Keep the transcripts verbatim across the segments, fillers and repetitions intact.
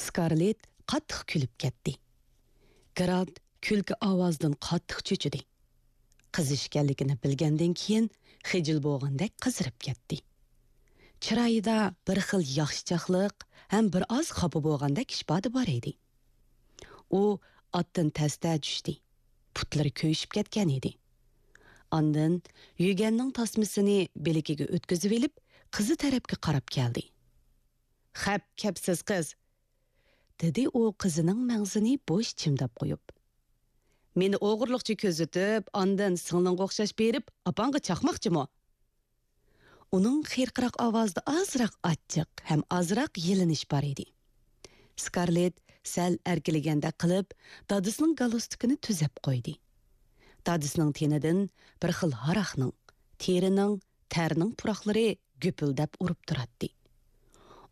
سكارلېت قاتتىق كۈلۈپ كەتتى. گېرالت كۈلكە ئاۋازىدىن قاتتىق چۆچۈدى. قىز ئىكەنلىكىنى بىلگەندىن كېيىن خىجىل بولغاندەك قىزىرىپ كەتتى. چىرايىدا بىر خىل ياخشىچاقلىق ھەم بىر ئاز خاپا بولغاندەك ئىپادە بار ئىدى. ئۇ ئاتتىن تەستە چۈشتى. پۇتلىرى كۆيۈشۈپ كەتكەن ئىدى. ئاندىن يۈگەننىڭ تاسمىسىنى بىلىكىگە ئۆتكۈزۈۋېلىپ، قىزى تەرەپكە قاراپ كەلدى. «خەپ كەپسىز قىز!» دېدى ئۇ قىزىنىڭ مەڭزىنى بوش چىمداپ قويۇپ. «مېنى ئوغرىلىقچە كۆزىتىپ، ئاندىن سىڭلىڭغا ئوخشاش بېرىپ، ئاپاڭغا چاقماقچىمۇ؟» ئۇنىڭ خىرقىراق ئاۋازىدا ئازراق ئاچچىق ھەم ئازراق يېلىنىش بار ئىدى. سكارلېت سەل ئەركىلىگەندەك قىلىپ، دادىسىنىڭ گالستۇكىنى تۈزەپ قويدى. دادىسىنىڭ تېنىدىن بىر خىل ھاراقنىڭ، تېرىنىڭ، تەرنىڭ پۇراقلىرى گۈپۈلدەپ ئۇرۇپ تۇراتتى.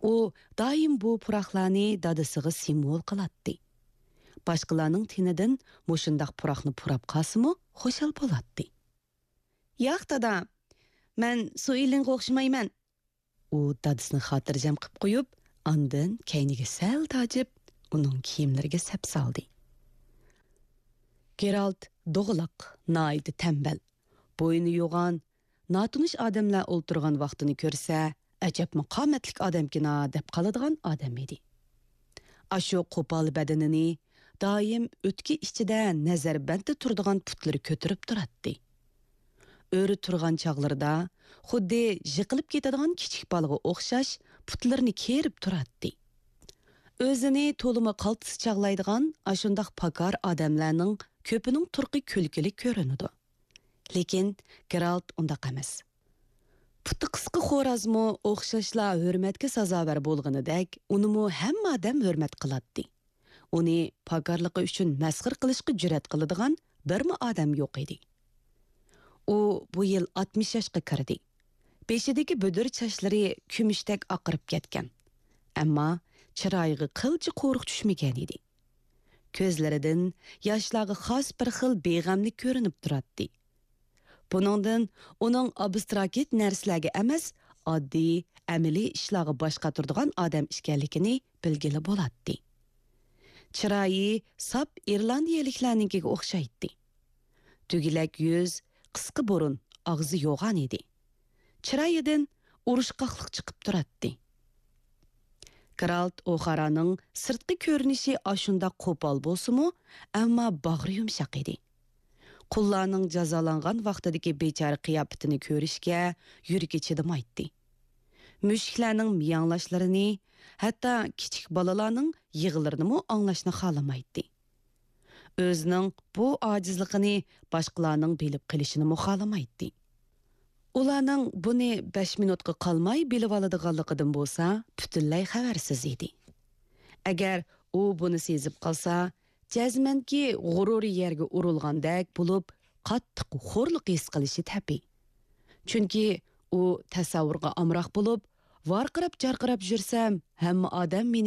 ئۇ دائىم بۇ پۇراقلارنى دادىسىغا سىمۋول قىلاتتى. باشقىلارنىڭ تېنىدىن مۇشۇنداق پۇراقنى پۇراپ قالسىمۇ خۇشال بولاتتى. «ياق، دادا، مەن سۇئېلىنغا ئوخشىمايمەن.» ئۇ دادىسىنى خاتىرجەم قىپ قويۇپ، ئاندىن كەينىگە سەل تاجىپ، ئۇنىڭ كىيىملىرىگە سەپ سالدى. گېرالت دوغىلاق، ناھايىتى تەمبەل، بوينى يوغان، ناتونۇش ئادەملەر ئولتۇرغان ۋاقتىنى كۆرسە، «ئەجەبمۇ قامەتلىك ئادەمكىنا» دەپ قالىدىغان ئادەم ئىدى. ئاشۇ قوپال بەدىنىنى دائىم ئۆتكە ئىچىدە نەزەربەندتە تۇرىدىغان پۇتلىرى كۆتۈرۈپ تۇراتتى. ئۆرە تۇرغان چاغلىرىدا خۇددى يىقىلىپ كېتىدىغان كىچىك بالىغا ئوخشاش پۇتلىرىنى كېرىپ تۇراتتى. ئۆزىنى تولىمۇ قالتىس چاغلايدىغان ئاشۇنداق پاكار ئادەملەرنىڭ كۆپىنىڭ تۇرقى كۈلكىلىك كۆرۈنىدۇ. لېكىن گېرالت ئۇنداق ئەمەس. پۇتى قىسقا خورازمۇ ئوخشاشلا ھۆرمەتكە سازاۋەر بولغىنىدەك، ئۇنىمۇ ھەممە ئادەم ھۆرمەت قىلاتتى. ئۇنى پاكارلىقى ئۈچۈن مەسخىرە قىلىشقا جۈرئەت قىلىدىغان بىرمۇ ئادەم يوق ئىدى. ئۇ بۇ يىل ئاتمىش ياشقا كىردى. بېشىدىكى بۈدۈر چاچلىرى كۈمۈشتەك ئاقىرىپ كەتكەن. ئەمما چىرايىغا قىلچە قورۇق چۈشمىگەن ئىدى. كۆزلىرىدىن ياشلارغا خاس بىر خىل بىغەملىك كۆرۈنۈپ تۇراتتى. بۇنىڭدىن ئۇنىڭ ئابستراكت نەرسىلەرگە ئەمەس، ئاددىي، ئەمەلىي ئىشلارغا باش قاتۇرىدىغان ئادەم ئىكەنلىكىنى بىلگىلى بولاتتى. چىرايى ساپ ئىرلاندىيەلىكلەرنىڭكىگە ئوخشايتتى. دۈگىلەك يۈز، قىسقا بۇرۇن، ئاغزى يوغان ئىدى. چىرايىدىن ئۇرۇشقاقلىق چىقىپ تۇراتتى. گېرالت ئوخارانىڭ سىرتقى كۆرۈنۈشى ئاشۇنداق قوپال بولسىمۇ، ئەمما باغرى يۇمشاق ئىدى. قۇللارنىڭ جازالانغان ۋاقتىدىكى بىچارە قىياپىتىنى كۆرۈشكە يۈرىكى چىدىمايتتى. مۈشۈكلەرنىڭ مىياڭلاشلىرىنى، ھەتتا كىچىك بالىلارنىڭ يىغىلىرىنىمۇ ئاڭلاشنى خالىمايتتى. ئۆزىنىڭ بۇ ئاجىزلىقىنى باشقىلارنىڭ بىلىپ قېلىشىنىمۇ خالىمايتتى. ئۇلارنىڭ بۇنى بەش مىنۇتقا قالماي بىلىۋالىدىغانلىقىدىن بولسا پۈتۈنلەي خەۋەرسىز ئىدى. ئەگەر ئۇ بۇنى سېزىپ قالسا، جەزمەنكى غۇرۇرى يەرگە ئۇرۇلغاندەك بولۇپ، قاتتىق خورلۇق ھېس قىلىشى تەبىئىي. چۈنكى ئۇ تەسەۋۋۇرغا ئامراق بولۇپ، ۋارقىراپ-جارقىراپ يۈرسەم، ھەممە ئادەم مېنى